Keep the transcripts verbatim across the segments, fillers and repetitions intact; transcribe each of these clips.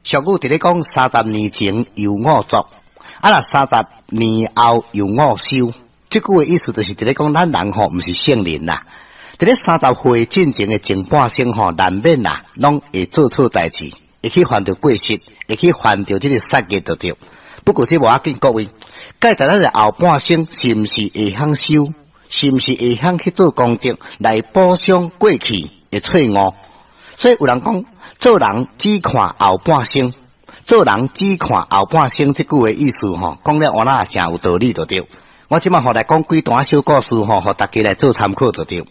俗語佇咧講，三十年前猶我作，啊若三十年後猶我修。這句的意思就是佇咧講，咱人吼毋是聖人啦。佇咧三十歲進前的前半生吼，難免啦，攏會做錯代誌，會去犯著過失，會去犯著這个殺業就對。不過這無要緊，各位，蓋在咱的後半生是毋是會曉修，是毋是會曉去做功德來補償過去的錯誤？所以有人講，做人只看後半生，做人只看後半生這句的意思吼，講了我那誠有道理就對。我這馬吼來講幾段小故事吼，予大家來做參考就對。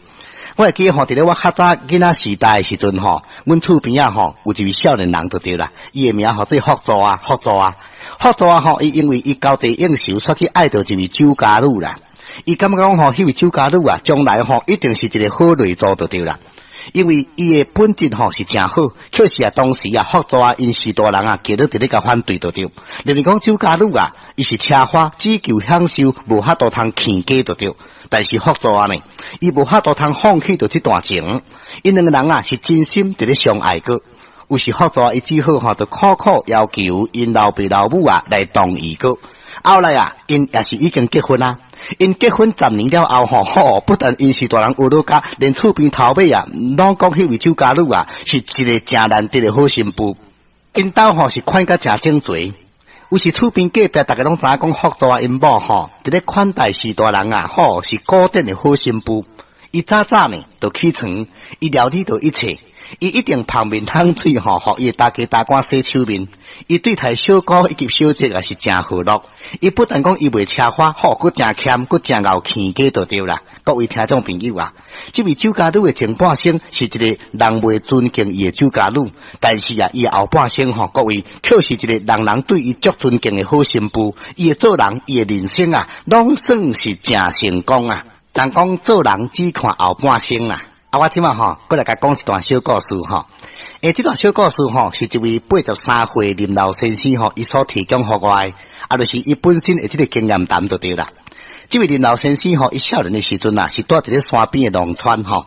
我會記吼，佇咧我較早囡仔時代的時陣吼，阮厝邊仔吼有一位少年人就對啦，伊的名號做福祖啊，福祖啊，福祖啊吼，伊因為伊交際應酬，煞去愛著一位酒家女啦。伊感覺講吼，彼位酒家女啊，將來吼一定是一个好內助就對啦。因為伊的本質吼是誠好，可是啊當時啊福祖啊𪜶序大人啊，共咧佇咧共反對就對。認為講酒家女啊，伊是奢華，只求享受，無法度通持家就對。但是福祖啊呢，伊無法度通放棄著這段情，𪜶兩个人啊是真心佇咧相愛過。有時福祖啊，伊只好吼就苦苦要求𪜶老爸老母啊來同意過。後來啊，𪜶也是已經結婚啊。𪜶結婚十年了後吼，吼，不但𪜶序大人學落家，連厝邊頭尾啊，攏講彼位酒家女啊，是一个誠難得的好新婦。𪜶兜吼是款甲誠整齊，有時厝邊隔壁，逐家攏知影講福祖啊，𪜶某吼，佇咧款待序大人啊，吼是古典的好新婦。伊早早呢就起床，伊料理著一切。伊一定芳面香喙吼，予伊的大家大官洗手面。伊對待小姑以及小姐也是誠和樂。伊不但講伊袂奢華，吼，閣誠儉，閣誠𠢕持家就對啦。各位聽眾朋友啊，這位酒家女的前半生是一个人袂尊敬伊的酒家女，但是啊，伊的後半生吼，各位卻是一个人人對伊足尊敬的好新婦。伊的做人，伊的人生啊，攏算是誠成功啊。人講做人只看後半生啊。啊，我這馬吼，閣來共講一段小故事吼。欸，這段小故事吼，是一位八十三歲林老先生吼，伊所提供予我的，啊，就是伊本身的這个經驗談就對啦。這位林老先生吼，伊少年的時陣啊，是蹛佇咧山邊的農村吼。